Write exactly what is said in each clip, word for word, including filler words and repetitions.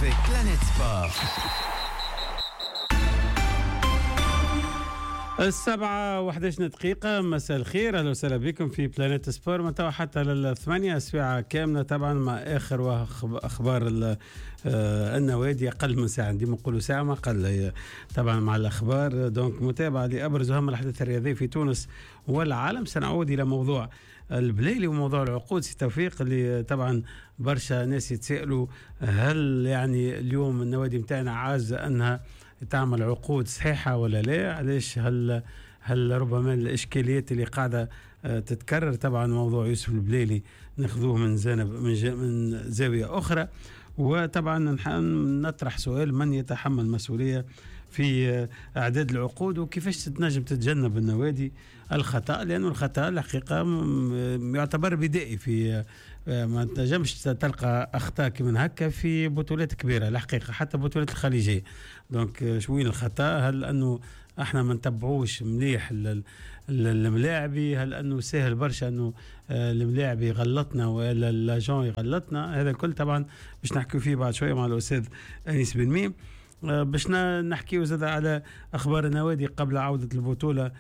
avec Planète Sport. السبعة وحداش دقيقة، مساء الخير، أهلا وسهلا بكم في بلانيت سبور من توا حتى للثمانية، ساعة كاملة طبعا مع آخر أخبار النوادي، أقل من ساعة، ديما نقولوا ساعة ما أقل طبعا مع الأخبار. donc متابعة لأبرز وأهم الأحداث الرياضية في تونس والعالم. سنعود إلى موضوع البليلي وموضوع العقود سي توفيق، اللي طبعا برشا ناس يتسألوا هل يعني اليوم النوادي متاعنا عاجزة أنها تعمل عقود صحيحة ولا لا؟ علاش هل هل ربما الإشكاليات اللي قاعدة تتكرر؟ طبعا موضوع يوسف البليلي ناخذوه من جانب من, من زاوية أخرى، وطبعا نطرح سؤال من يتحمل مسؤولية في إعداد العقود وكيفاش تنجم تتجنب النوادي الخطأ، لأنه الخطأ الحقيقة يعتبر بدائي، في ما تنجمش تلقى أخطاء كمن هكا في بطولات كبيرة الحقيقة، حتى بطولات الخليجية. donc شوين الخطأ؟ هل أنه احنا ما نتبعوش مليح الملاعبي؟ هل انه سهل برشا انه الملاعبي يغلطنا ولا l'agent يغلطنا؟ هذا الكل طبعا باش نحكيو فيه بعد شوية مع الاستاذ انيس بن ميم. باش نحكيو زاد على اخبار النوادي قبل عوده البطولة،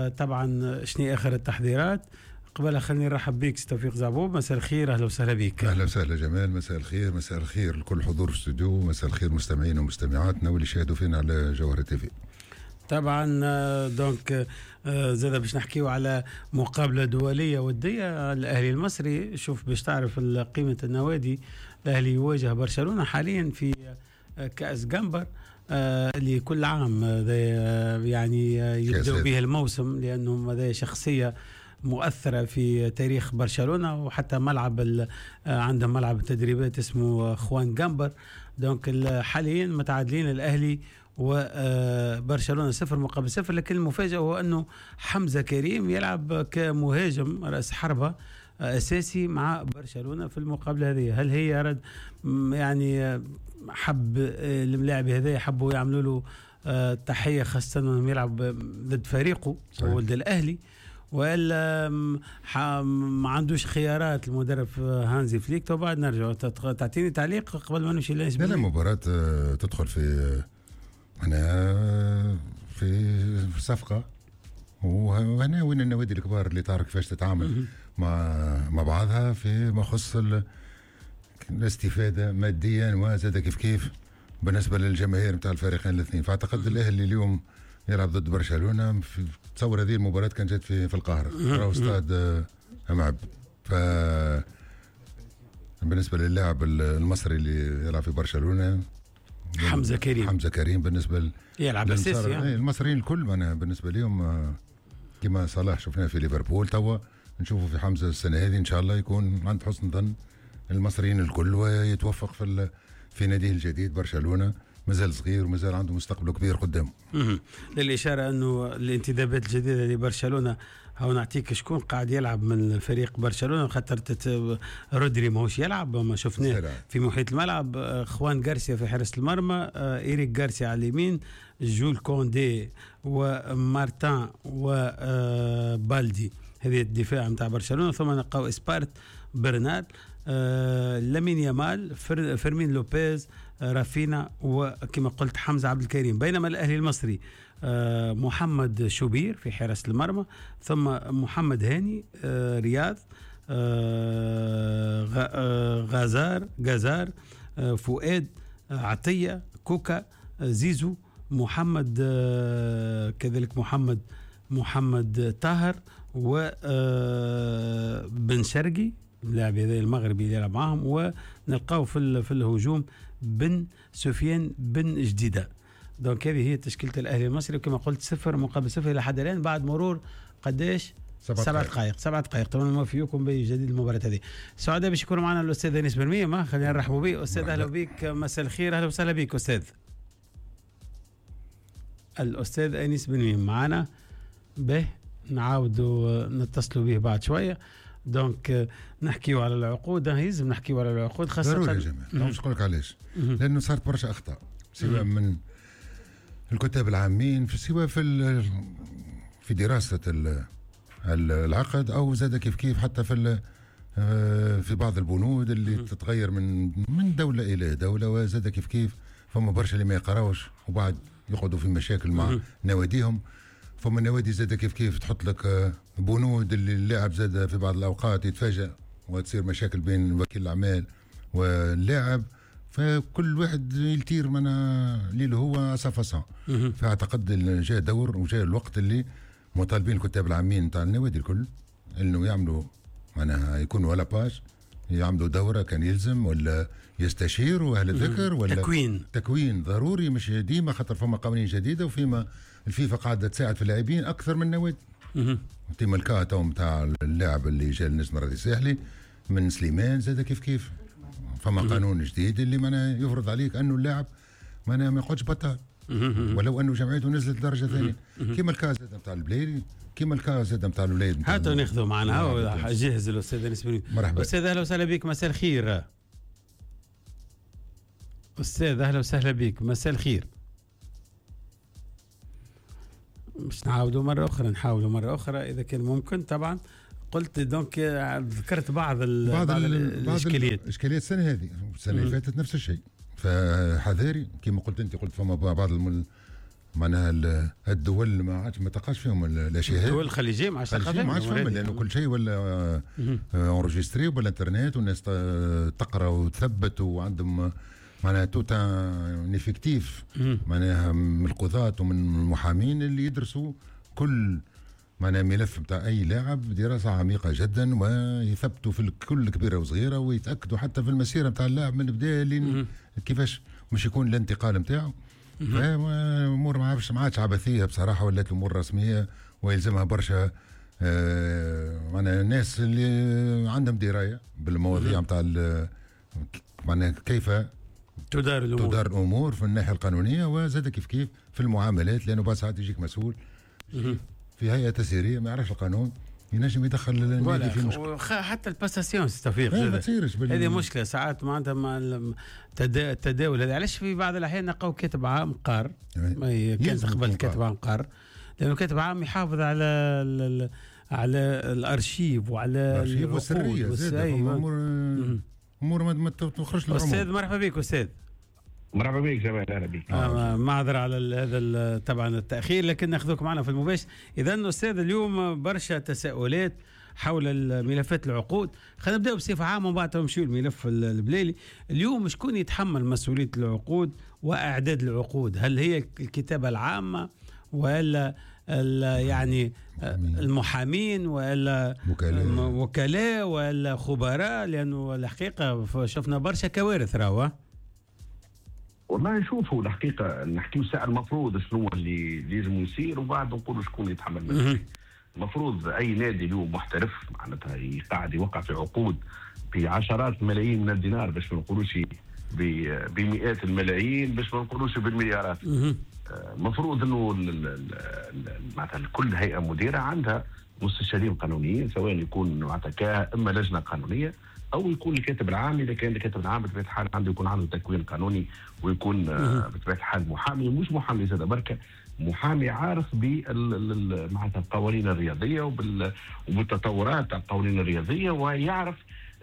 طبعا شنو اخر التحضيرات. قبل خليني نرحب بك توفيق زعبوب، مساء الخير، اهلا وسهلا بك. اهلا وسهلا جمال، مساء الخير، مساء الخير لكل حضور الاستوديو، مساء الخير مستمعين ومستمعاتنا واللي شاهدوا فينا على جوهرة تي في. طبعا donc زاد باش نحكيو على مقابله دولية وديه، الاهلي المصري. شوف باش تعرف قيمة النوادي، الاهلي يواجه برشلونة حاليا في كاس جامبر اللي كل عام يعني يبدأ به الموسم، لانه هذا شخصية مؤثرة في تاريخ برشلونة، وحتى ملعب عندهم ملعب تدريبات اسمه خوان جامبر. donc حاليا متعادلين الاهلي وبرشلونة صفر مقابل صفر، لكن المفاجأة هو أنه حمزة كريم يلعب كمهاجم رأس حربة أساسي مع برشلونة في المقابلة هذه. هل هي رد يعني حب الملاعب هذا حبوا يعملوا له تحية، خاصة أنه يلعب ضد فريقه ولد الأهلي، وإلا ما عندوش خيارات المدرب هانزي فليك؟ تو بعد نرجع تعطيني تعليق قبل ما نمشي. لا لا، مباراة تدخل في أنا في صفقة، وهنا وين النوادي الكبار اللي تعرف كيفاش تتعامل مع مع بعضها في ما يخص الاستفادة ماديا وزاد كيف كيف بالنسبة للجماهير نتاع الفريقين الاثنين. فأعتقد الأهلي اليوم يلعب ضد برشلونة، في تصور هذه المباراة كانت جات في في القاهرة، راهو استاد معب. ف بالنسبة للاعب المصري اللي يلعب في برشلونة حمزة كريم، حمزة كريم بالنسبة ل... يلعب أساسي يعني. المصريين الكل أنا بالنسبة لهم كما صلاح شفناه في ليفربول، توا نشوفه في حمزة السنة هذه إن شاء الله يكون عند حسن ظن المصريين الكل ويتوفق في ال... في ناديه الجديد برشلونة. مازال صغير ومازال عنده مستقبل كبير قدامه. للإشارة أنه الانتدابات الجديدة لبرشلونة، هاو نعطيك شكون قاعد يلعب من فريق برشلونة، خاطر رودري ماهوش يلعب، ما شفناه في محيط الملعب. خوان غارسيا في حارس المرمى، إيريك غارسيا على اليمين، جول كوندي ومارتان وبالدي، هذه الدفاع نتاع برشلونة. ثم نلقاو إسبارت، برنال، آه، لامين يامال، فر، فيرمين لوبيز، آه، رافينا، وكما قلت حمزة عبد الكريم. بينما الأهلي المصري آه، محمد شوبير في حراسة المرمى، ثم محمد هاني، آه، رياض، آه، غازار غازار، آه، فؤاد، آه، عطية، كوكا، آه، زيزو، محمد، آه، كذلك محمد محمد طاهر، وبن شرقي اللاعب هذا المغربي اللي يلعب معاهم، ونلقاو في في الهجوم بن سفيان بن جديدة. donc هذه هي تشكيله الاهلي المصري، وكما قلت صفر مقابل صفر الى حد الان بعد مرور قداش؟ سبع دقائق. سبع دقائق. طبعا نوفيكم بجديد المباراة هذه. سعداء باش يكون معنا الاستاذ انيس بن ميم، خلينا نرحبوا به. استاذ اهلا بك، مساء الخير، اهلا وسهلا بك استاذ. الاستاذ انيس بن ميم معنا به، نعاودوا نتصلوا به بعد شوية. donc نحكيو على العقود، لازم نحكيو على العقود خاصة ضروري يا جماعة. مش نقول لك علاش، لأنه صارت برشا أخطاء سواء من الكتاب العامين، سواء في في دراسة العقد، أو زاد كيف كيف حتى في آه، في بعض البنود اللي تتغير من من دولة الى دولة، وزاد كيف كيف فما برشا اللي ما يقراوش وبعد يقعدوا في مشاكل مع نواديهم. فما نوادي زاد كيف كيف تحط لك آه، بنود اللي اللاعب زاد في بعض الاوقات يتفاجأ وتصير مشاكل بين وكيل الاعمال واللاعب، فكل واحد يلتير من اللي هو sa façon. فاعتقد جاء دور وجاء الوقت اللي مطالبين الكتاب العامين نتاع النوادي الكل انه يعملوا معناها يكونوا à la page، يعملوا دوره كان يلزم ولا يستشيروا اهل الذكر ولا تكوين. تكوين ضروري، مش ديما خاطر فما قوانين جديدة وفيما الفيفا قاعدة تساعد في اللاعبين اكثر من النوادي. كيما ال cas تو نتاع اللاعب اللي جا للنجم الرياضي الساحلي من سليمان زاد كيف كيف فما قانون جديد اللي معناها يفرض عليك انه اللاعب معناها ما يقعدش بطال ولو انه جمعيته نزلت درجه ثانية، كيما ال cas زاد نتاع البلايلي، كيما ال cas زاد نتاع الاولاد. هاتوا ناخذوا معنا جهز الاستاذ انيس. مرحبا استاذ، اهلا وسهلا بك، مساء الخير استاذ. اهلا وسهلا بك، مساء الخير. مش نعاودوا مرة اخرى، نحاولوا مرة اخرى اذا كان ممكن. طبعا قلت donc ذكرت بعض ال بعض, بعض ال الاشكاليات، الاشكاليات السنة هذه، السنة اللي فاتت نفس الشيء. فحذاري كما قلت انت، قلت فما بعض المل معناها الدول ما عادش ما تلقاش فيهم الاشياء الدول الخليجية ما عادش تلقى فيهم، ما عادش فيهم، لانه كل شيء ولا enregistré بالانترنت والناس تقرا وتثبت وعندهم معناها tout un effectif معناها من القضاة ومن المحامين اللي يدرسوا كل معناها ملف بتاع اي لاعب دراسة عميقة جدا ويثبتوا في كل كبيرة وصغيره ويتاكدوا حتى في المسيرة بتاع اللاعب من البداية لين كيفاش مش يكون الانتقال نتاعو. فامور ما عادش ما عادش عبثية بصراحه، ولات الامور رسمية ويلزمها برشا آه معناها الناس اللي عندهم دراية بالمواضيع نتاع معناها كيف تدار الامور تدار الامور في الناحية القانونية وزاد كيف كيف في المعاملات، لانه بعد ساعات يجيك مسؤول في هيئة تسييريه ما يعرفش القانون ينجم يدخل النادي في مشكلة. حتى ال passation سي توفيق ما تصيرش بال... هذه مشكلة ساعات معناتها مع التداول هذا. علاش في بعض الاحيان نلقاو كاتب عام قار، ما كان قبل كاتب عام قار، لانه كاتب عام يحافظ على ال... على الارشيف وعلى الارشيف والسرية. امور امور ما تخرجش للعموم. استاذ مرحبا بك استاذ. مرحبا بك جمال، اهلا بك. آه معذرة على هذا طبعا التاخير، لكن ناخذك معنا في المباشر. اذا استاذ اليوم برشا تساؤلات حول ملفات العقود، خلينا نبداو بصفة عامة ومن بعد نمشيو للملف البليلي. اليوم شكون يتحمل مسؤولية العقود واعداد العقود؟ هل هي الكتابة العامة ولا يعني المحامين ولا وكلاء ولا خبراء؟ لانه الحقيقة شفنا برشا كوارث راهو. والله شوفوا الحقيقة نحكيو ساعة المفروض شنو اللي لازم يصير وبعد نقولوا شكون يتحمل المسؤولية. المفروض اي نادي اليوم محترف معناتها قاعد يوقع في عقود بعشرات الملايين من الدينار، باش ما نقولوش بمئات الملايين، باش ما نقولوش بالمليارات. المفروض انه معناتها كل هيئة مديره عندها مستشارين قانونيين، سواء يكون معناتها اما لجنة قانونية او يكون الكاتب العام. اذا كان الكاتب العام بطبيعة الحال عنده يكون عنده تكوين قانوني ويكون بطبيعة الحال محامي، مش محامي زاد بركة، محامي عارف بال معناتها القوانين الرياضية وبال وبالتطورات تاع القوانين الرياضية، ويعرف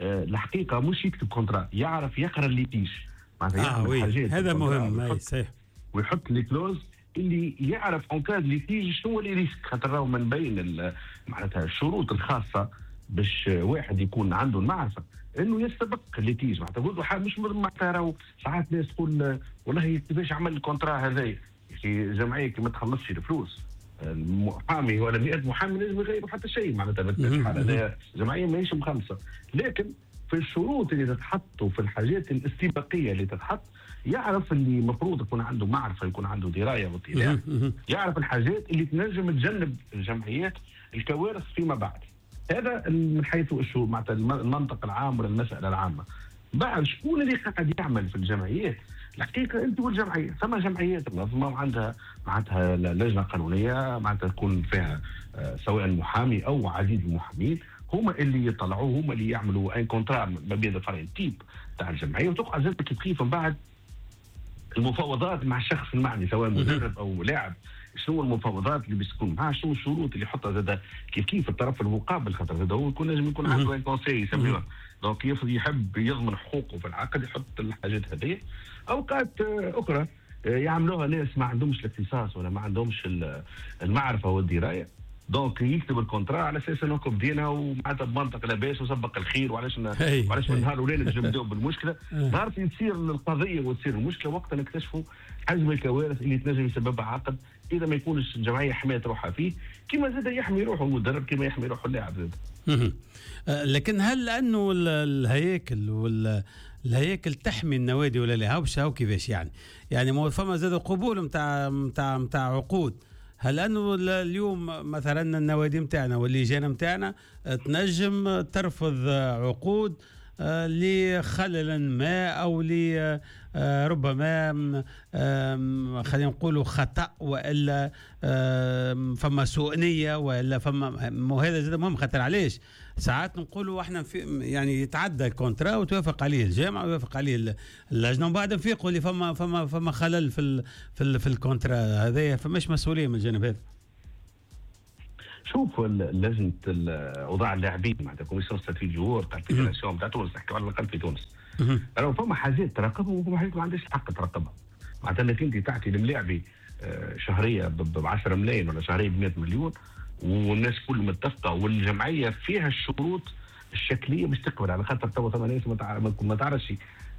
الحقيقة مش يكتب contrat، يعرف يقرا ال litige معناتها آه oui. هذا مهم صحيح، ويحط les clauses اللي يعرف en cas de litige شنو les risques، خاطر راهو من بين معناتها الشروط الخاصة باش واحد يكون عنده المعرفة انه يستبق litige. معناتها قلت مش معناتها راهو ساعات ناس تقول والله كيفاش عمل ال contrat هذايا، في جمعية كي ما تخلصش الفلوس المحامي ولا مئة محامي لازم يغيروا حتى شيء معناتها بالحالة هذه جمعية ماهيش مخلصة. لكن في الشروط اللي تتحط وفي الحاجات الاستباقيه اللي تتحط يعرف اللي المفروض يكون عنده معرفة، يكون عنده دراية واطلاع، يعرف الحاجات اللي تنجم تجنب الجمعيات الكوارث فيما بعد. هذا من حيث الشو معناتها المنطق العام ولا المسالة العامة. بعد شكون اللي قاعد يعمل في الجمعيات؟ الحقيقة انت والجمعية، ثم جمعيات منظمة وعندها معناتها لجنة قانونية معناتها تكون فيها سواء محامي او عديد المحامين، هما اللي يطلعوا، هما اللي يعملوا un contrat ما بين الفرعين type تاع الجمعية، وتقع زاد كيف كيف من بعد المفاوضات مع الشخص المعني سواء مدرب او لاعب، شنو المفاوضات اللي باش تكون معاه، شنو الشروط اللي يحطها زاد كيف كيف الطرف المقابل، خاطر زاد هو يكون نجم يكون عنده un conseil يسميوه، donc يحب يضمن حقوقه في العقد يحط الحاجات هذه. اوقات اخرى يعملوها ناس ما عندهمش الاختصاص ولا ما عندهمش المعرفة والدراية، donc يكتب ال contrat على اساس انه بدينا ومعناتها بمنطق لاباس وسبق الخير، وعلاش وعلاش من نهار الاولاني باش نبداو بالمشكلة. نهار تصير القضية وتصير المشكلة وقتها نكتشفوا حجم الكوارث اللي تنجم يسببها عقد اذا ما يكونش الجمعية حماية روحها فيه، كما زاد يحمي روحه المدرب كما يحمي روحه اللاعب زاد. لكن هل انه الهياكل وال الهياكل تحمي النوادي ولا لا؟ هاو هاو كيفاش يعني؟ يعني ما فما زاد قبول نتاع نتاع نتاع عقود. هل انه اليوم مثلا النوادي نتاعنا واللجان نتاعنا تنجم ترفض عقود لخلل ما او لربما خلينا نقولوا خطا والا فما سوء نيه والا فما، وهذا زاد مهم خاطر علاش ساعات نقولوا احنا في يعني يتعدى ال contrat وتوافق عليه الجامعة ويوافق عليه اللجنة ومن بعد نفيقوا اللي فما فما فما خلل في ال في ال في ال contrat هذايا، فماش مسؤولية من الجانب هذا. شوف لجنة اوضاع اللاعبين معناتها commission statut joueur تاع ال fédération تاع تونس، نحكيو على الاقل في تونس، راهو فما حاجات تراقبها وفما حاجات ما عندهاش الحق تراقبها. معناتها انك انت تعطي الملاعبي شهرية ب عشرة ملايين ولا شهرية ب مئة مليون والناس كل متفقه والجمعية فيها الشروط الشكليه باش تقبل، على خاطر توا ثم ناس ما تعرفش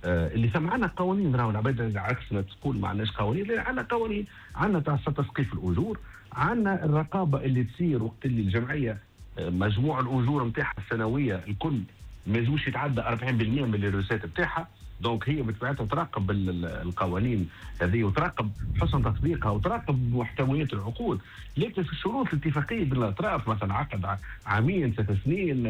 اللي سمعنا قوانين، راهو العباد عكس ما تقول ما عندناش قوانين، لا عندنا قوانين، عندنا تاع تسقيف الاجور، عندنا الرقابة اللي تصير وقت اللي الجمعية مجموع الاجور نتاعها السنوية الكل ما يلزموش يتعدى أربعين بالمئة من ال recettes نتاعها، donc هي بطبيعتها تراقب القوانين هذه وتراقب حسن تطبيقها وتراقب محتويات العقود. لكن في الشروط الاتفاقية بين الاطراف مثلا عقد عامين ثلاث سنين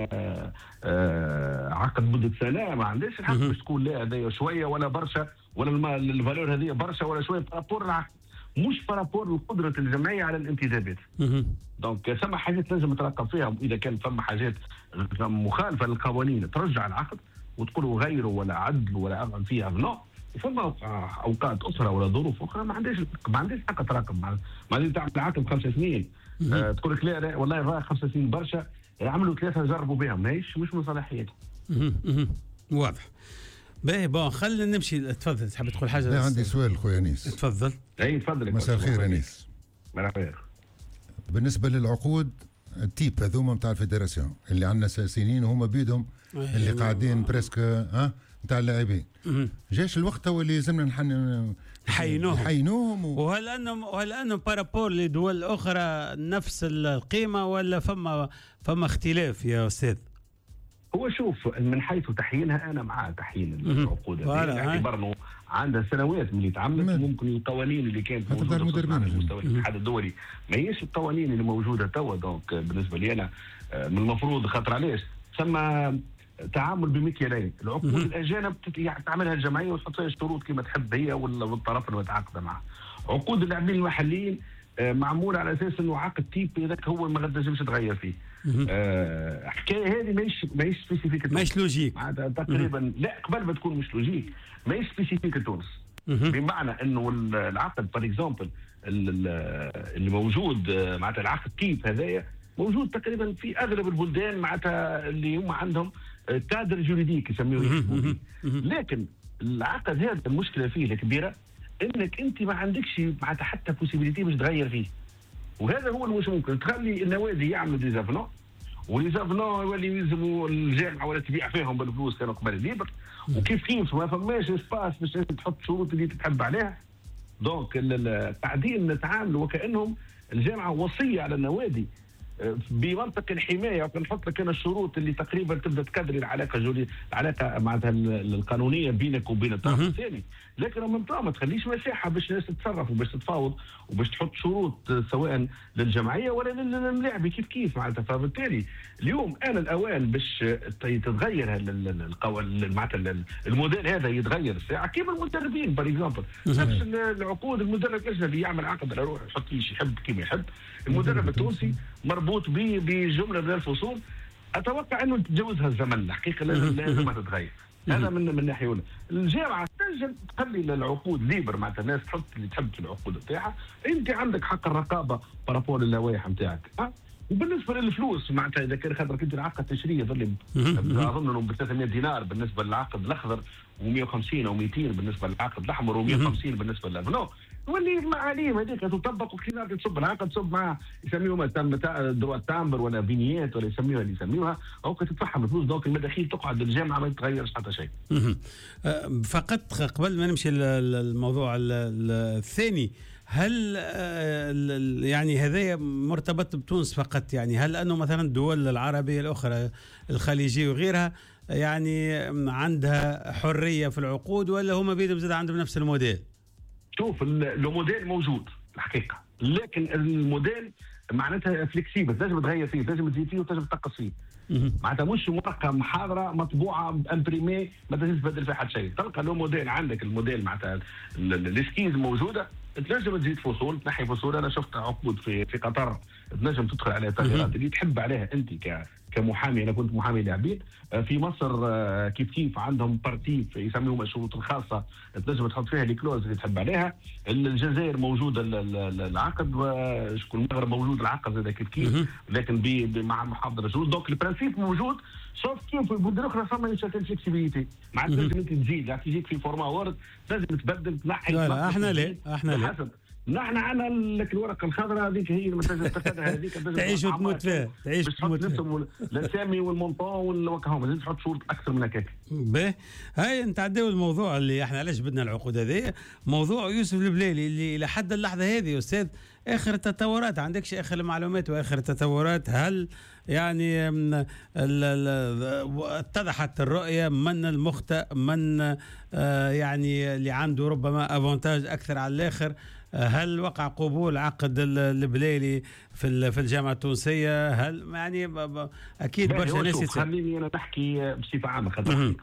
عقد مده سنة، ما عندهاش الحق باش تقول لا هذا شوية ولا برشا ولا ال valeur هذه برشا ولا شوية par rapport العقد، مش par rapport لقدره الجمعية على الانتدابات. donc ثم حاجات لازم تراقب فيها، اذا كان ثم حاجات مخالفة للقوانين ترجع العقد وتقولوا غيروا ولا عدلوا ولا اعمل فيها non. فما اوقات اخرى ولا ظروف اخرى ما عندهاش ما عندهاش حق تراقب. ما عندهاش تعمل عقد خمس سنين آه تقول لك لا لا والله راه خمس سنين برشا، عملوا ثلاثة جربوا بها، ماهيش مش من صلاحيتهم. واضح. باهي bon خلينا نمشي. تفضل تحب تقول حاجة؟ لا عندي سؤال خويا انيس. تفضل. اي تفضل. مساء الخير انيس. مرحبا. بالنسبة للعقود ال type هذوما نتاع ال fédération اللي عندنا سنين وهما بيدهم اللي قاعدين presque ها نتاع اللاعبين، جاش الوقت هو اللي لازمنا نحن نحينوهم نحينوهم و... وهل انهم وهل انهم par rapport لدول اخرى نفس القيمة ولا فما فما اختلاف يا استاذ؟ هو شوف من حيث تحيينها انا مع تحيين العقود باعتبار انه عندها سنوات من اللي تعملت، ممكن القوانين اللي كانت موجودة على مستوى الاتحاد الدولي ما هيش القوانين اللي موجودة توا. donc بالنسبة لي انا من المفروض، خاطر علاش ثم تعامل بمكيالين، العقود الاجانب تعملها الجمعية وتحط فيها الشروط كما تحب هي والطرف اللي متعاقده معه. عقود اللاعبين المحليين معمولة على اساس انه عقد type هذاك هو ما تنجمش تغير فيه. آه حكاية هذه ماهيش ماهيش spécifique، ماهيش logique تقريبا. لا قبل ما تكون مش logique ماهيش spécifique تونس، بمعنى انه العقد par exemple اللي موجود معناتها العقد type هذايا موجود تقريبا في اغلب البلدان معناتها اللي هم عندهم cadre juridique يسميوه. لكن العقد هذا المشكلة فيه الكبيرة انك انت ما عندكش معناتها حتى possibilité باش تغير فيه، وهذا هو المش ممكن تخلي النوادي يعملوا des avenants و les avenants يولي يلزموا الجامعة ولا تبيع فيهم بالفلوس كانوا قبل libre، وكيف كيف ما فماش espace باش تحط شروط اللي تحب عليها. donc قاعدين نتعاملوا وكانهم الجامعة وصية على النوادي بمنطق الحماية، نحط لك انا الشروط اللي تقريبا تبدا تكدري العلاقة جولي العلاقة معناتها القانونية بينك وبين الطرف الثاني، لكن من ما تخليش مساحة باش الناس تتصرف وباش تتفاوض وباش تحط شروط سواء للجمعية ولا للاعب كيف كيف معناتها. فبالتالي اليوم انا الاوان باش تتغير معناتها الموديل هذا يتغير الساعة كيما المدربين par exemple نفس العقود، المدرب الاجنبي يعمل عقد على روحه يحط فيه يحب كيما يحب، المدرب التونسي مربوط به بجملة من الفصول. اتوقع انه تجاوزها الزمن الحقيقة، لازم لازم تتغير. هذا من من ناحية اولى. الجامعة تنجم تخلي العقود libre، معناتها الناس تحط اللي تحب في العقود نتاعها، انت عندك حق الرقابة par rapport للوائح نتاعك. وبالنسبة للفلوس معناتها اذا كان خاطر انت العقد التشريعي يظل اظن انه ب ثلاثمية دينار بالنسبة للعقد الاخضر ومية وخمسين او مئتين بالنسبة للعقد الاحمر ومية وخمسين بالنسبة لل avenant، واللي المعاليم هذيك تطبق وكي تصب العقد تصب مع يسميوها droit timbre ولا vignette ولا يسميوها اللي يسميوها، او تدفعهم الفلوس، donc المداخيل تقعد للجامعة ما يتغيرش حتى شيء. فقط قبل ما نمشي للموضوع الثاني، هل يعني هذا مرتبط بتونس فقط؟ يعني هل انه مثلا الدول العربية الاخرى الخليجية وغيرها يعني عندها حرية في العقود، ولا هما بيدهم زاد عندهم نفس الموديل؟ شوف الموديل موجود الحقيقة، لكن الموديل معناتها flexible، تنجم تغير فيه، تنجم تزيد فيه وتنجم تنقص فيه. معناتها مش ورقة محاضرة مطبوعة imprimée ما تنجمش تبدل فيها حتى شيء. تلقى le modèle عندك، الموديل معناتها ال esquisse موجودة، تنجم تزيد فصول، تنحي فصول. انا شفت عقود في في قطر تنجم تدخل عليها تغييرات اللي تحب عليها انت ك كمحامي. انا كنت محامي لاعبين في مصر، كيف كيف عندهم partie يسميهم الشروط الخاصة تنجم تحط فيها les clauses اللي تحب عليها. الجزائر موجودة العقد، شكون المغرب موجود العقد زاد كيف كيف، لكن مع محافظة الشروط. donc ال principe موجود، sauf que في البلدان الاخرى فما une certaine flexibilité، معناتها تنجم انت تزيد، يعني تجيك في format Word تنجم تبدل تنحي. لا لا احنا لا احنا لا نحن عندنا الورقة الخضراء هذيك هي اللي تنجم تاخذها، هذيك تعيش وتموت فيها، تعيش وتموت فيها، الاسامي وال montant والوكاهم، لازم تحط شروط اكثر من هكاك. باهي، هاي نتعداو الموضوع اللي احنا علاش بدنا العقود هذه، موضوع يوسف البلايلي اللي الى حد اللحظة هذه استاذ اخر التطورات، عندكش اخر المعلومات واخر التطورات؟ هل يعني اتضحت الرؤية من المخطئ، من يعني اللي عنده ربما avantage اكثر على الاخر؟ هل وقع قبول عقد البلايلي في في الجامعة التونسية؟ هل يعني اكيد برشا ناس. خليني انا نحكي بصفة عامة،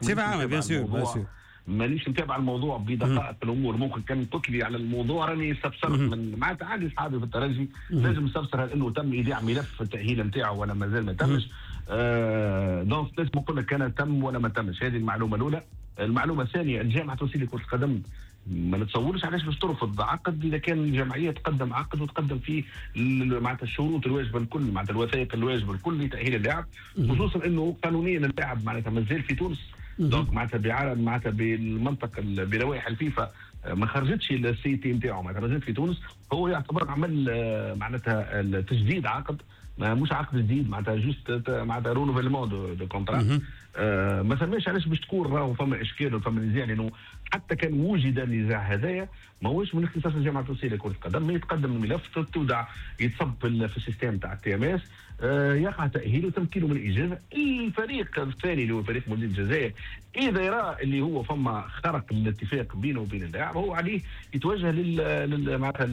بصفة عامة bien sûr bien sûr مانيش متابع الموضوع بدقائق الامور، ممكن كان قلت لي على الموضوع راني استفسرت من معناتها عندي اصحابي في الترجي، لازم نستفسر هل انه تم ايداع ملف التاهيل نتاعو ولا مازال ما تمش. آه donc لازم نقول لك كان تم ولا ما تمش، هذه المعلومة الاولى. المعلومة الثانية، الجامعة التونسية لكرة القدم ما نتصورش علاش باش ترفض عقد اذا كان الجمعية تقدم عقد وتقدم فيه معناتها الشروط الواجبة الكل، معناتها الوثائق الواجبة الكل لتاهيل اللاعب، خصوصا انه قانونيا اللاعب معناتها مازال في تونس. donc معناتها بعالم معناتها بالمنطق بلوائح الفيفا ما خرجتش ال CT نتاعو، معناتها مازال في تونس، هو يعتبر عمل معناتها تجديد عقد، مش عقد جديد، معناتها juste معناتها renouvellement de contrat. آه ما ثماش علاش باش تكون راهو فما اشكال وفما نزاع، لانه حتى كان وجد النزاع هذايا ماهوش من اختصاص الجامعة التونسية لكرة القدم. يتقدم الملف، تودع، يتصب في ال système تاع ال TMS، يقع تاهيله وتمكينه من الاجازة. الفريق الثاني اللي هو فريق مولوديه الجزائر اذا يرى اللي هو فما خرق الاتفاق بينه وبين اللاعب، هو عليه يتوجه لل معناتها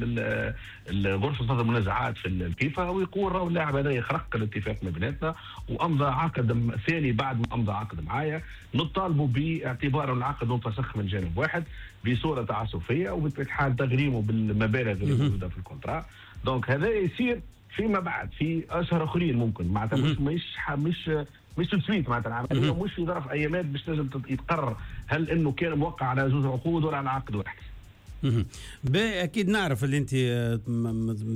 لغرفة فض المنازعات في الفيفا ويقول راهو اللاعب هذا يخرق الاتفاق ما بيناتنا وامضى عقد ثاني بعد ما امضى عقد معايا، نطالبوا باعتباره العقد منفسخ من جانب واحد بصورة تعسفيه وبطبيعة الحال تغريمه بالمبالغ اللي موجودة في ال contrat. donc هذا يصير فيما بعد في اشهر اخرين ممكن، معناتها مش مش مش مش tout de suite، معناتها العملية مش في ظرف ايامات باش تنجم يتقرر هل انه كان موقع على زوج عقود ولا على عقد واحد. اكيد نعرف اللي انت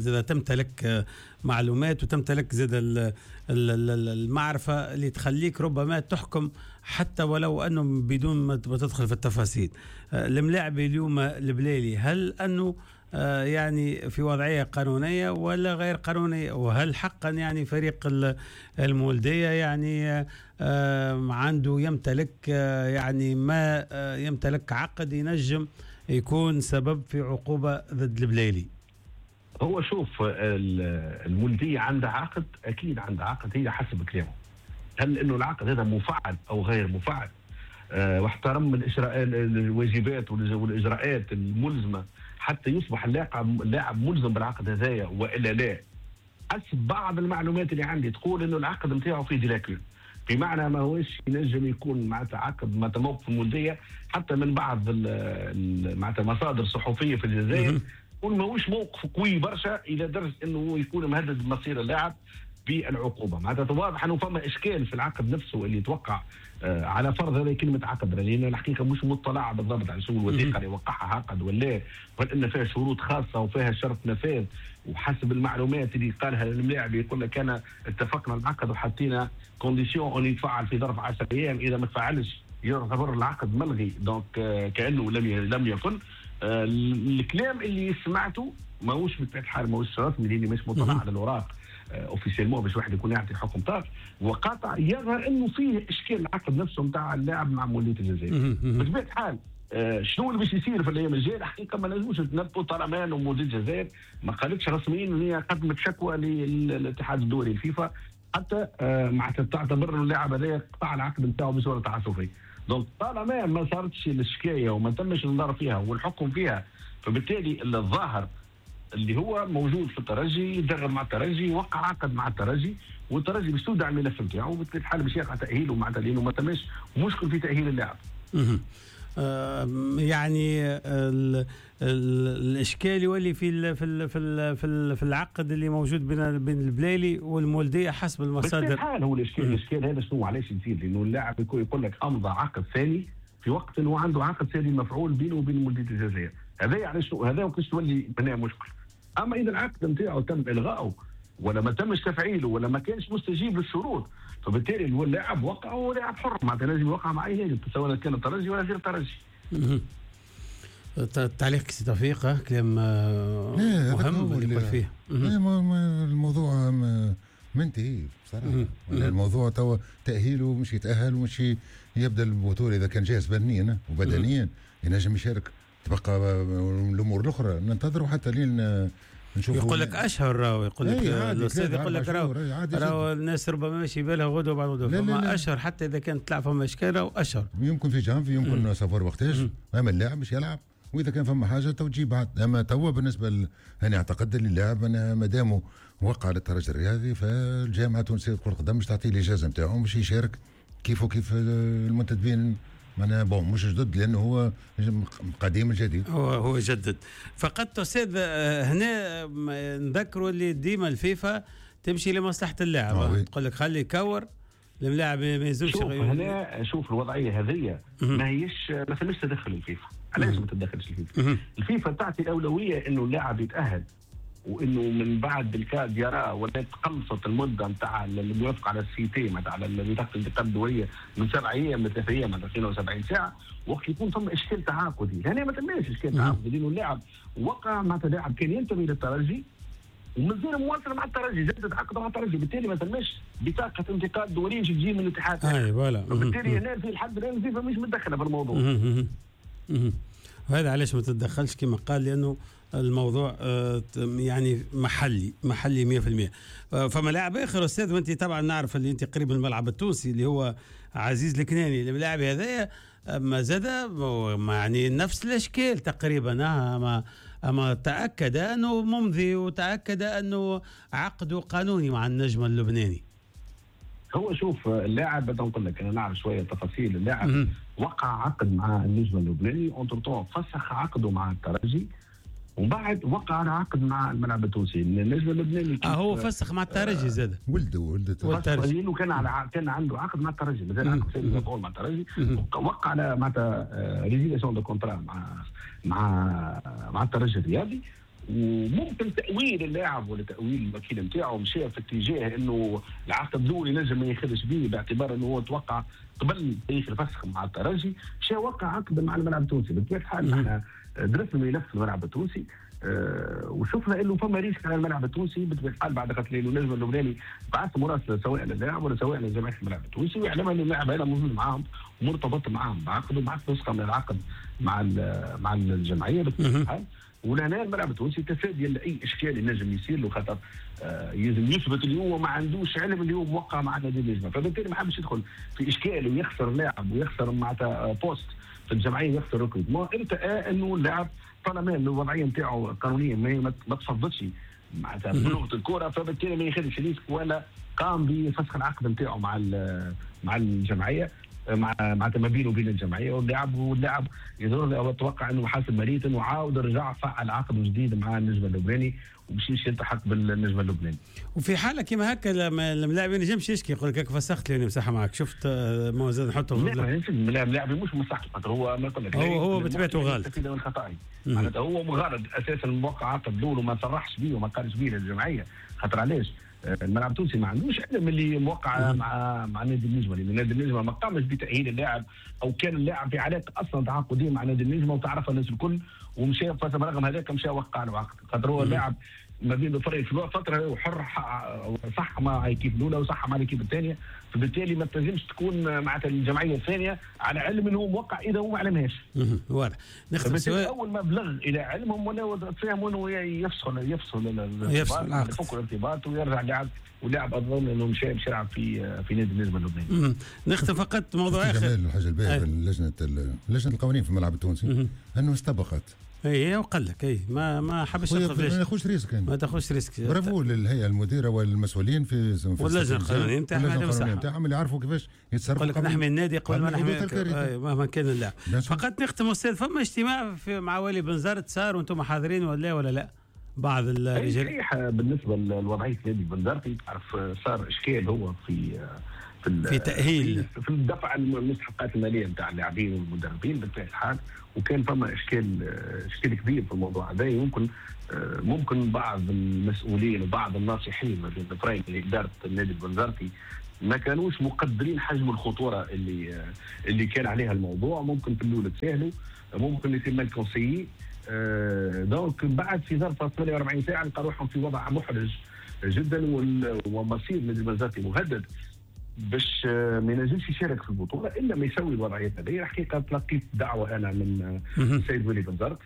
زاد تمتلك معلومات وتمتلك زاد المعرفة اللي تخليك ربما تحكم حتى ولو انه بدون ما تدخل في التفاصيل. الملاعب اليوم البلايلي هل انه يعني في وضعية قانونية ولا غير قانونية؟ وهل حقا يعني فريق المولديه يعني عنده يمتلك يعني ما يمتلك عقد ينجم يكون سبب في عقوبة ضد البلايلي؟ هو شوف المولدية عندها عقد، أكيد عندها عقد، هي حسب كلامه. هل إنه العقد هذا مفعل أو غير مفعل؟ أه واحترم الواجبات والإجراءات الملزمة حتى يصبح اللاعب اللاعب ملزم بالعقد هذايا وإلا لا؟ حسب بعض المعلومات اللي عندي تقول إنه العقد نتاعو فيه des lacunes، بمعنى ما هوش ينجم يكون معناتها عقد معناتها موقف المولديه حتى من بعض معناتها مصادر صحفية في الجزائر يكون ماهوش موقف قوي برشا الى درجه انه يكون مهدد مصير اللاعب. بالعقوبة. معناتها واضح انه فما اشكال في العقد نفسه اللي توقع آه على فرض هذه كلمة عقد، لان الحقيقة مش مطلع بالضبط على شو الوثيقة اللي وقعها عقد ولا، وهل ان فيها شروط خاصة وفيها شرط نفاذ، وحسب المعلومات اللي قالها الملاعب يقول لك انا اتفقنا العقد وحطينا condition ان يتفعل في ظرف عشرة ايام، اذا ما تفعلش يعتبر العقد ملغي، donc آه كانه لم لم يكن. آه الكلام اللي سمعته ماهوش بطبيعة الحال ماهوش رسمي لاني مش مطلع على الاوراق officiellement باش واحد يكون يعطي حكم طاف وقاطع، يظهر انه فيه اشكال العقد نفسه نتاع اللاعب مع مولوديه الجزائر. بطبيعة الحال آه شنو اللي باش يصير في الايام الجاية الحقيقة ما نجموش نتنبؤوا طالما انه مولوديه الجزائر ما قالتش رسميا ان هي قدمت شكوى للاتحاد الدولي الفيفا، حتى آه معناتها تعتبر اللاعب هذا قطع العقد نتاعو بصورة تعسفيه. donc طالما ما صارتش الشكاية وما تمش النظر فيها والحكم فيها، فبالتالي الظاهر اللي هو موجود في الترجي يدرب مع الترجي، وقع عقد مع الترجي، والترجي باش تودع الملف نتاعو، وبالتالي الحال باش يقع تاهيله معناتها لانه ما تماش مشكل في تاهيل اللاعب. آه يعني ال ال الاشكال يولي في ال في ال في ال في, ال في العقد اللي موجود بين بين البلايلي والمولديه حسب المصادر. الحال هو الاشكال الاشكال هذا شنو علاش يصير؟ لانه اللاعب يقول لك امضى عقد ثاني في وقت انه عنده عقد ثاني مفعول بينه وبين مولديه الجزائر، هذا علاش هذا وقتاش تولي بناء مشكل. اما اذا العقد نتاعو تم الغائه ولا ما تمش تفعيله ولا ما كانش مستجيب للشروط، فبالتالي اللاعب وقع وهو لاعب حر، معناتها لازم يوقع مع اي نادي سواء كان الترجي ولا غير الترجي. تعليقك سي توفيق، كلام مهم اللي يقول فيه. الموضوع منتهي بصراحة، الموضوع توا تاهيله مش يتاهل ومش يبدا البطولة اذا كان جاهز فنيا وبدنيا ينجم يشارك، تبقى الامور الاخرى ننتظروا حتى لين نشوفوا. يقول لك اشهر راهو، يقول لك الاستاذ يقول لك راهو راهو الناس ربما ماشي بالها غدوه بعد غدوه، فما اشهر حتى اذا كانت طلع فما اشكال راهو اشهر، يمكن في جانفي يمكن سافر وقتاش، اما اللاعب مش يلعب، واذا كان فما حاجة تو تجي بعد. اما توا بالنسبة ل... انا اعتقد اللي اللاعب انا مادامه وقع للترجي الرياضي فالجامعه التونسية لكرة القدم مش تعطيه الاجازة نتاعو باش يشارك كيفه كيف المنتدبين معناها bon مش جدد لانه هو قديم الجديد، هو هو جدد فقط. استاذ هنا نذكروا اللي ديما الفيفا تمشي لمصلحة اللاعب، تقول لك خلي يكور اللاعب ما يزولش. شوف هنا شوف الوضعية هذه ما هيش ما ثماش تدخل الفيفا. علاش ما تدخلش الفيفا؟ الفيفا تعطي الاولوية انه اللاعب يتاهل، وانه من بعد الكاد يرى ولا تقلصت المدة نتاع الموافقة على ال CIT معناتها على بطاقة الانتقال الدولية من سبع ايام لثلاث ايام معناتها اثنين وسبعين ساعة، وقت يكون ثم اشكال تعاقدي. هنا ما تماش اشكال تعاقدي لانه اللاعب وقع معناتها لاعب كان ينتمي للترجي ومازال مواصل مع الترجي، جدد عقده مع الترجي، بالتالي ما تماش بطاقة انتقال دولية تجي من الاتحاد. اي voilà، وبالتالي هنا في الحد الان الفيفا مش متدخله في الموضوع. وهذا علاش ما تتدخلش كما قال، لانه الموضوع يعني محلي محلي مية بالمية. فما لاعب اخر استاذ، وانت طبعا نعرف اللي انت قريب من الملعب التونسي اللي هو عزيز الكناني، اللاعب هذايا ما زاد يعني نفس الاشكال تقريبا، اما اما تاكد انه ممضي وتاكد انه عقده قانوني مع النجم اللبناني. هو شوف اللاعب بدي نقول لك انا نعرف شوية تفاصيل اللاعب. وقع عقد مع النجم اللبناني، entre-temps فسخ عقده مع الترجي، ومن بعد وقع على عقد مع الملعب التونسي. النجم اللبناني اه هو فسخ مع الترجي زاد ولده ولده الترجي وكان على كان عنده عقد مع الترجي، مازال عقد سيد مع الترجي، وقع على معناتها résiliation de contrat مع مع مع الترجي الرياضي. وممكن تأويل اللاعب ولا تأويل الوكيل نتاعو مشى في اتجاه انه العقد الاول ينجم ما ياخذش به باعتبار انه هو توقع قبل تاريخ الفسخ مع الترجي، مشى وقع عقد مع الملعب التونسي. بطبيعة الحال احنا درسنا ملف الملعب التونسي أه وشفنا انه فما risque على الملعب التونسي بطبيعة الحال بعد قتل النجم اللبناني بعث مراسله سواء للاعب ولا سواء لجمعية الملعب التونسي ويعلمها ان اللاعب هذا موجود معاهم ومرتبط معاهم بعقد وبعث نسخه من العقد مع مع الجمعية بطبيعة الحال. ولهنا الملعب التونسي تفاديا لاي اشكال ينجم يصير له، خاطر آه يلزم يثبت اللي هو ما عندوش علم اللي هو موقع مع نادي النجمة، فبالتالي ما حبش يدخل في اشكال ويخسر لاعب ويخسر معناتها poste في الجمعية ويخسر recrutement. ارتأى انه اللاعب طالما الوضعية نتاعو قانونيا ما ما تفضلش معناتها بلغه الكره، فبالتالي ما ياخذش risque ولا قام بفسخ العقد نتاعو مع مع الجمعية. مع معناتها ما بينه وبين الجمعية واللاعب، واللاعب يظهر اتوقع انه حاسب مريت انه عاود رجع فعل عقد جديد مع النجم اللبناني وباش يلتحق بالنجم اللبناني. وفي حاله كيما هكا اللاعب ما ينجمش يشكي، يقول لك فسخت لي مساحة معك، شفت ما زاد نحطه لا اللاعب مش مساحته، خاطر هو ما يقول لك هو هو بطبيعته غلط من خطأه، معناتها هو مغرض اساسا موقع عقد الاول وما صرحش به وما قالش به للجمعية، خاطر علاش؟ الملعب التونسي ما عندوش علم اللي موقع مع مع نادي النجمة، لان نادي النجمة ما قامش بتاهيل اللاعب او كان اللاعب في علاقة اصلا تعاقديه مع نادي النجمة وتعرفها الناس الكل، ومشى برغم هذاك مشى وقع له عقد، خاطر هو اللاعب ما بين الفريق في فترة وحر صح مع équipe الاولى وصح مع ال équipe الثانية، فبالتالي ما تنجمش تكون معناتها الجمعية الثانية على علم انه هو موقع اذا هو ما علمهاش. واضح. نختم سؤال اول ما بلغ الى علمهم ولا تفهموا انه يفصل يفصل يفصل العقد، يفك الارتباط ويرجع لاعب، ولاعب اظن انه مشى باش يلعب في في نادي النجم اللبناني. نختم فقط موضوع اخر. الحاجة الباهيه لجنة لجنة القوانين في الملعب التونسي انه استبقت اي وقال لك اي ما ما حبش ياخذ ما تاخذش risque، ما تاخذش risque. برافو للهيئة المديرة والمسؤولين في في واللجنة القانونية نتاعهم نتاعهم اللي يعرفوا كيفاش يتصرفوا. قال لك نحمي النادي قبل ما نحمي مهما كان اللاعب. فقط نختم استاذ، فما اجتماع في مع والي بنزرت صار وانتم حاضرين ولا ولا لا؟ بعض الرجال صحيح. بالنسبة لوضعيه نادي بنزرتي تعرف صار اشكال هو في في, في تاهيل في الدفع المستحقات المالية نتاع اللاعبين والمدربين بالطبيعة الحال، وكان فما اشكال اشكال كبير في الموضوع هذا. ممكن ممكن بعض المسؤولين وبعض الناصحين ما بين الفريق لادارة النادي البنزرتي ما كانوش مقدرين حجم الخطورة اللي اللي كان عليها الموضوع. ممكن في الاول تساهلوا، ممكن يتم ال conseil donc بعد في ظرف ثمانية وأربعين ساعة لقى روحهم في وضع محرج جدا، ومصير النادي البنزرتي مهدد باش ما ينجمش يشارك في البطولة الا ما يسوي الوضعية هذه. الحقيقة تلقيت دعوه انا من السيد ولي بنزرت،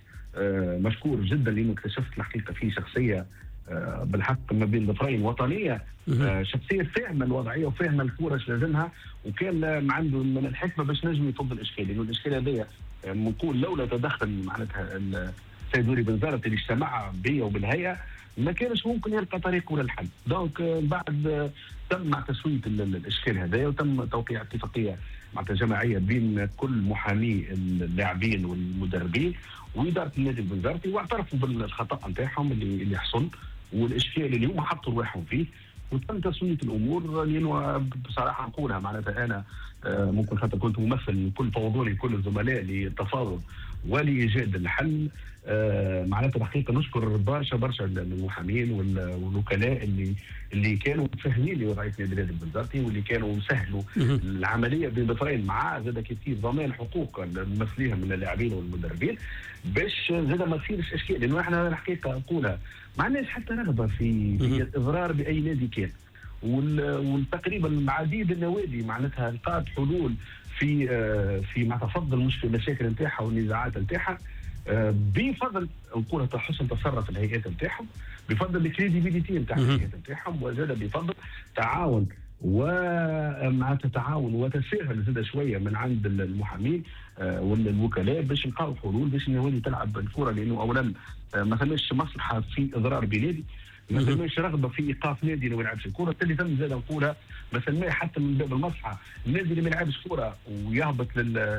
مشكور جدا لانه اكتشفت الحقيقة فيه شخصية بالحق ما بين ظفرين وطنية، شخصية فاهمه الوضعية وفاهمه الكورة اش لازمها، وكان عنده من الحكمة باش نجم يفض الاشكال، لانه الاشكال هذايا نقول لولا تدخل معناتها السيد ولي بنزرت اللي اجتمع بيا وبالهيئه ما كانش ممكن يلقى طريقه للحل. donc بعد تم مع تسويه الاشكال هذايا وتم توقيع اتفاقية مع جماعية بين كل محامي اللاعبين والمدربين واداره النادي البنزرتي، واعترفوا بالخطا نتاعهم اللي اللي حصل والاشكال اللي هما حطوا رواحهم فيه، وتم تسويه الامور. لانه بصراحة نقولها معناتها انا ممكن خاطر كنت ممثل كل فوضوني كل الزملاء للتفاوض ولايجاد الحل، معناتها الحقيقة نشكر برشا برشا المحامين والوكلاء اللي اللي كانوا فاهمين لوضعيه نادي البنزرتي واللي كانوا سهلوا العملية بين ظفرين مع زاد كيف ضمان حقوق الممثلين من اللاعبين والمدربين باش زاد ما تصيرش اشكال. لانه احنا الحقيقة نقولها ما عندناش حتى رغبة في في الاضرار باي نادي كان، وتقريبا عديد النوادي معناتها لقات حلول في في مع تفض المشاكل نتاعها والنزاعات نتاعها بفضل نقولها حسن تصرف الهيئات نتاعهم، بفضل ال crédibilité نتاع الهيئات نتاعهم، وزاد بفضل تعاون ومع تعاون وتساهل زاد شوية من عند المحامين والوكلاء باش نلقاو حلول باش النوادي تلعب الكره. لانه اولا ما ثماش مصلحة في اضرار بنادي، ما ثماش رغبة في ايقاف نادي اللي ما يلعبش الكره. اللي تم زاد نقولها ما ثماش حتى من باب المصلحة النادي اللي ما يلعبش كره ويهبط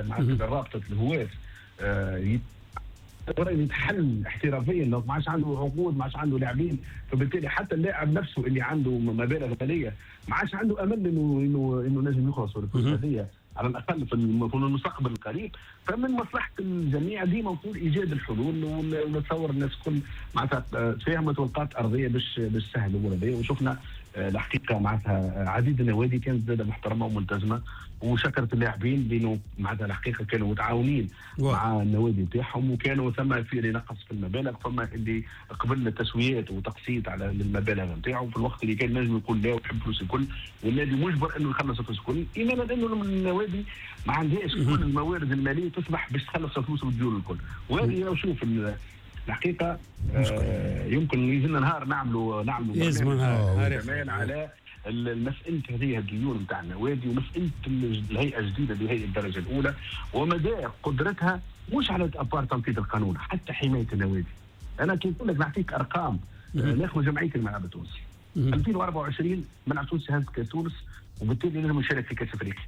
مع رابطه الهواة آه يتحل احترافيا، لو ما عادش عنده عقود ما عادش عنده لاعبين، فبالتالي حتى اللاعب نفسه اللي عنده مبالغ ماليه ما عادش عنده امل انه انه انه نجم يخلص الفلوس هذه على الاقل في المستقبل القريب. فمن مصلحة الجميع ديما نقول ايجاد الحلول، ونتصور الناس الكل معناتها تفاهمت ولقات ارضية باش باش تسهل الامور هذه. وشفنا الحقيقة معناتها عديد النوادي كانت زاده محترمه وملتزمه وشكرت اللاعبين لانه معناتها الحقيقة كانوا متعاونين مع النوادي نتاعهم، وكانوا ثم في اللي نقص في المبالغ، ثم اللي قبل التسويات وتقسيط على المبالغ نتاعو في الوقت اللي كان نجم يقول لا ويحب فلوس الكل، والنادي مجبر انه يخلص الفلوس الكل، ايمانا انه النوادي ما عندهاش كل الموارد المالية تسمح باش تخلص الفلوس والديون الكل. وهذه لو شوف الحقيقة آه يمكن يجينا نهار نعملوا نعملوا نهار كمان على المسألة هذه الديون نتاع النوادي ومسألة الهيئة الجديدة اللي هي الدرجة الأولى ومدى قدرتها مش على أبار تنفيذ القانون حتى حماية النوادي. أنا كي نقول لك نعطيك أرقام، ناخذ جمعية الملعب التونسي ألفين وأربعة وعشرين ملعب تونسي هز كاس تونس وبالتالي لازم يشارك في كاس أفريقيا.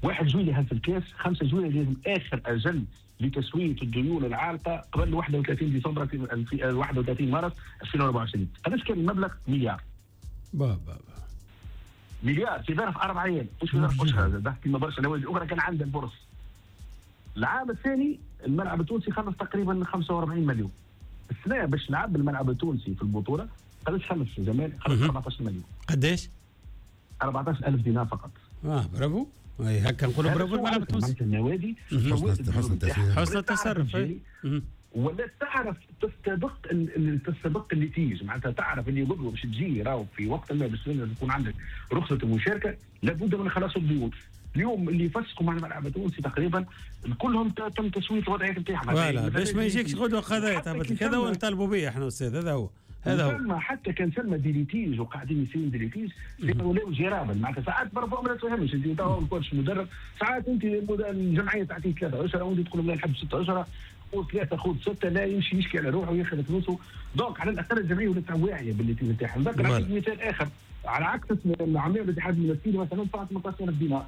واحد جويلية هز الكاس، خمسة جويلية لازم اخر اجل لتسوية الديون العالقة قبل واحد وثلاثين ديسمبر في واحد وثلاثين مارس ألفين وأربعة وعشرين. قداش كان المبلغ؟ مليار. با با مليار في ظرف اربع ايام، مش في ظرف اشهر، كما برشا نوادي اخرى كان عندها البورصة. العام الثاني الملعب التونسي خلص تقريبا خمسة وأربعين مليون. السنة باش لعب الملعب التونسي في البطولة قداش خلص جمال؟ خلص أربعة عشر مليون. قداش؟ أربعة عشر ألف دينار فقط. اه برافو، اي هكا نقولوا برافو الملعب التونسي. النوادي حسن التسيير، حسن التصرف، ولا تعرف تستبق تستبق ال litige، معناتها تعرف اللي غدوه باش تجي راهو في وقت ما باش يكون عندك رخصه المشاركة لابد من خلاص الديون. اليوم اللي فسخوا مع الملعب التونسي تقريبا كلهم تم تسويه الوضعية نتاعهم. voilà باش ما يجيكش غدوه قضايا تهبط كذا ونطالبوا به احنا استاذ. هذا هو هذا هو. حتى كان ثم des litiges وقاعدين يصيروا des litiges ولاو gérables، معناتها ساعات parfois ما تفهمش انت تو ال coach مدرب، ساعات انت الجمعية تعطيك ثلاثة اشهر وانت تقول لا نحب ستة اشهر، خذ ثلاثة خذ ستة، لا يمشي يشكي على روحه وياخذ فلوسه. donc على الاقل الجمعية ولات واعية بال litige نتاعها. نذكر نعطيك مثال اخر على عكس العملية الاتحاد المنستيري مثلا دفعت ثمنطاش ألف دينار.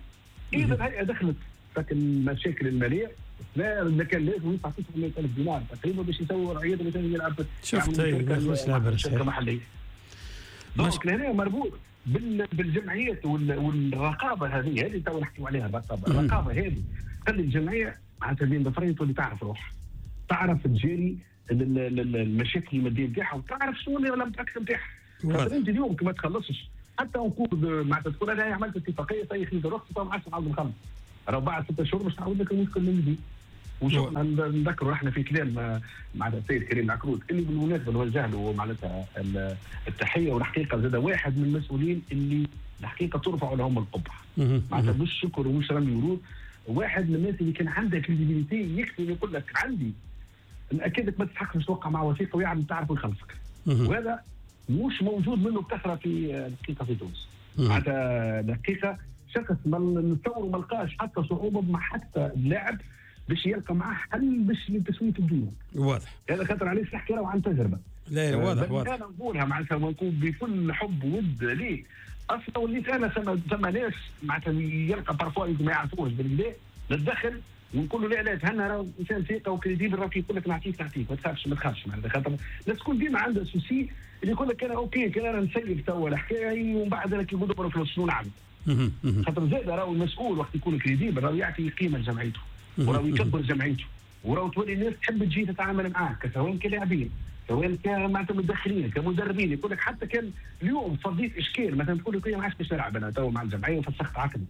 اذا الهيئة دخلت في المشاكل المالية لا كان لازم يدفع تسعمية ألف دينار تقريبا باش يسوي وضعيته باش يلعب. شفت ما شركة محليه. donc لهنا مربوط بالجمعيات والرقابه هذه، هذه تو نحكيو عليها الرقابة، الرقابة هذه تخلي الجمعية معناتها بين ظفرين تولي تعرف روحها، تعرف تجاري المشاكل المادية نتاعها وتعرف شنو اللي l'impact نتاعها. خاطر انت اليوم كي ما تخلصش حتى نقول معناتها تقول انا عملت اتفاقية طيب خذيت رخصه ما عادش نعاود نخلص، راه بعد ستة شهور باش تعاود لك المشكل من جديد. وشوف نذكروا احنا في كلام مع السيد كريم العكروت اللي بالمناسبة نوجه له معناتها التحية، والحقيقة زاد واحد من المسؤولين اللي الحقيقة ترفع لهم القبعة، معناتها مش شكر ومش رمي ورود، واحد من الناس اللي كان عنده crédibilité يكفي يقول لك عندي ناكدك ما تستحقش توقع مع وثيقة ويعمل تعرف ويخلصك، وهذا مش موجود منه بكثرة في الحقيقة في تونس. معناتها الحقيقة شخص ما نتصور ما لقاش حتى صعوبة مع حتى اللاعب باش يلقى معاه حل باش لتسوية الديون. واضح. هذا خاطر علاش نحكي راهو عن تجربه. لا واضح واضح. انا نقولها معناتها ونكون بكل حب وود ليه. اصلا وليت انا ثم ثم ناس معناتها يلقى parfois ما يعرفوش بالكدا نتدخل ونقول له لا لا تهنى راه انسان ثقة و crédible راه يقول لك نعطيك نعطيك ما تخافش ما تخافش معناتها، خاطر الناس تكون ديما عندها souci اللي يقول لك انا OK كان انا نسيب توا الحكاية ومن بعد انا كي ندبر فلوس شنو نعمل؟ خاطر زاد راهو المسؤول وقت يكون crédible راهو يعطي قيمة لجمعيته وراهو يكبر جمعيته وراهو تولي الناس تحب تجي تتعامل معاه سواء كلاعبين سواء كمعناتها مدخلين كمدربين. يقول لك حتى كان اليوم فضيت اشكال مثلا تقول لك ما عادش باش نلعب انا تو مع الجمعية وفسخت عقدي،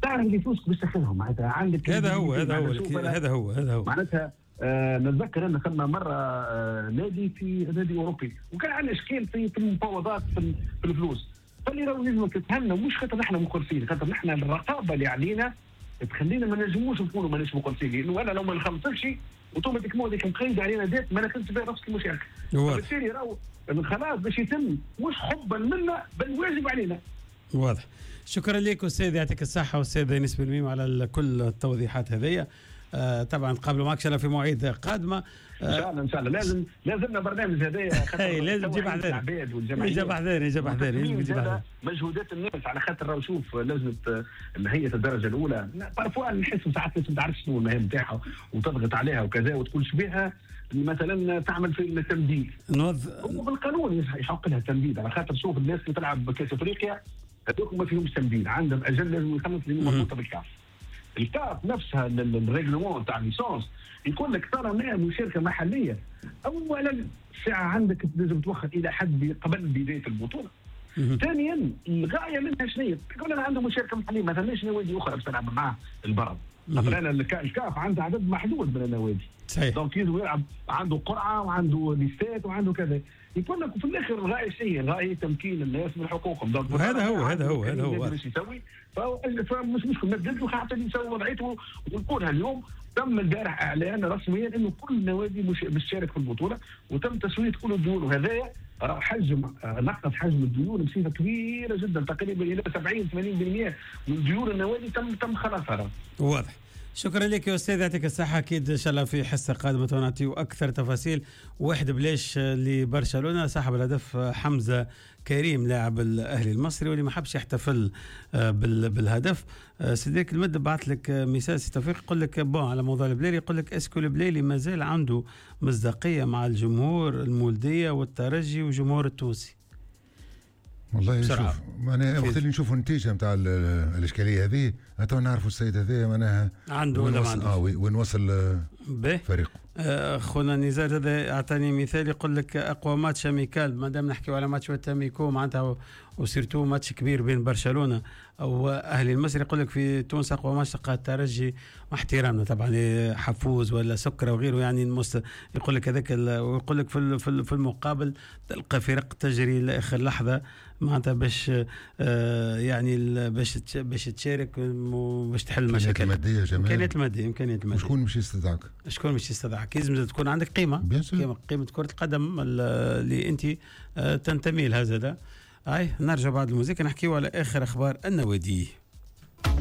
تعرف اللي فلوسك باش تاخذهم معناتها عندك. هذا هو هذا هو هذا هو هذا هو معناتها. آه نتذكر ان ثم مرة آه نادي في نادي اوروبي وكان عندنا اشكال في في المفاوضات في, في الفلوس، فاللي راهو لازم تتهنى مش خاطر نحن مخلصين، خاطر نحن الرقابة اللي علينا تخلينا ما نجموش نكونوا ماناش مخلصين، لانه انا لو ما نخلصش automatiquement هذيك مقيد علينا dette ما ناخذش بها نفس المشاركة. فبالتالي راهو الخلاص باش يتم مش حبا منا بل واجب علينا. واضح. شكرا لك استاذ، يعطيك الصحة استاذ انيس بن ميم على كل التوضيحات هذيا. آه طبعا نقابلوا معك ان شاء الله في مواعيد قادمة. آه ان شاء الله ان شاء الله لازم لازمنا برنامج هذايا. لازم تجيب حذاري يجيب حذاري يجيب حذاري يجيب حذاري مجهودات الناس على خاطر راهو شوف لجنة هيئة الدرجة الاولى parfois نحس ساعات الناس ما تعرفش شنو المهام نتاعها وتضغط عليها وكذا وتقول شبيها مثلا تعمل في التمديد. هو بالقانون يحق لها التمديد على خاطر شوف الناس اللي تلعب بكاس افريقيا هذوك ما فيهمش تمديد، عندهم اجل لازم يخلص لانه مربوطة بالكاف. الكاف نفسها ال règlement تاع licence يقول لك طالما مشاركة محليه اولا ساعة عندك لازم توخر الى حد قبل بداية البطولة. ثانيا الغاية منها شنو هي؟ تقول انا عنده مشاركة محليه ما ثماش نوادي اخرى باش تلعب معاه البرد. مثلا الكاف عنده عدد محدود من النوادي. صحيح. donc يلزم يلعب عنده قرعه وعنده ليستات وعنده كذا. يقول لك في الاخر الغاية شيء الغاية تمكين الناس من حقوقهم. donc هذا هو هذا هو هذا هو باش يسوي فمش مشكل نبدل له حتى يسوي وضعيته. ونقولها اليوم تم البارح اعلان رسميا انه كل النوادي باش تشارك في البطولة وتم تسويه كل الديون، وهذايا راه حجم نقص حجم الديون بصفة كبيرة جدا تقريبا الى سبعين ثمانين بالمئة من ديون النوادي تم تم خلاصها. واضح. شكرا لك يا استاذ، يعطيك الصحه. اكيد ان شاء الله في حصة قادمة نعطيو اكثر تفاصيل. واحد بلاش لبرشلونه، صاحب الهدف حمزة كريم لاعب الاهلي المصري واللي ما حبش يحتفل آه، بالهدف. آه، سيديك المد بعث لك message سي توفيق، يقول لك bon على موضوع البليلي، يقول لك est-ce que البليلي مازال عنده مصداقية مع الجمهور المولديه والترجي والجمهور التونسي؟ والله شوف، معناها وقت اللي نشوفوا النتيجة نتاع الاشكالية هذه تو نعرفوا السيد هذا معناها عنده ولا ما عنده. اه وين وصل فريقه. آه، خونا نزار هذا اعطاني مثال، يقول لك اقوى match amical، ما دام نحكيو على match amicaux معناتها و surtout match كبير بين برشلونة او اهلي المصري، يقول لك في تونس اقوى ماتش تلقى الترجي، مع احترامنا طبعا حفوز ولا سكره وغيره، يعني المست يقول لك هذاك، ويقول لك في في المقابل تلقى فرق تجري لاخر لحظة معناتها باش آه يعني باش باش تشارك وباش تحل المشاكل. المادية جمال. امكانيات الماديه، امكانيات الماديه. شكون مش يستدعك؟ شكون مش يستدعك؟ لازم تكون عندك قيمه، قيمه قيمة كره القدم اللي انت آه، تنتمي لها زاده. هاي نرجع بعد الموسيقى نحكيو على اخر اخبار النوادي.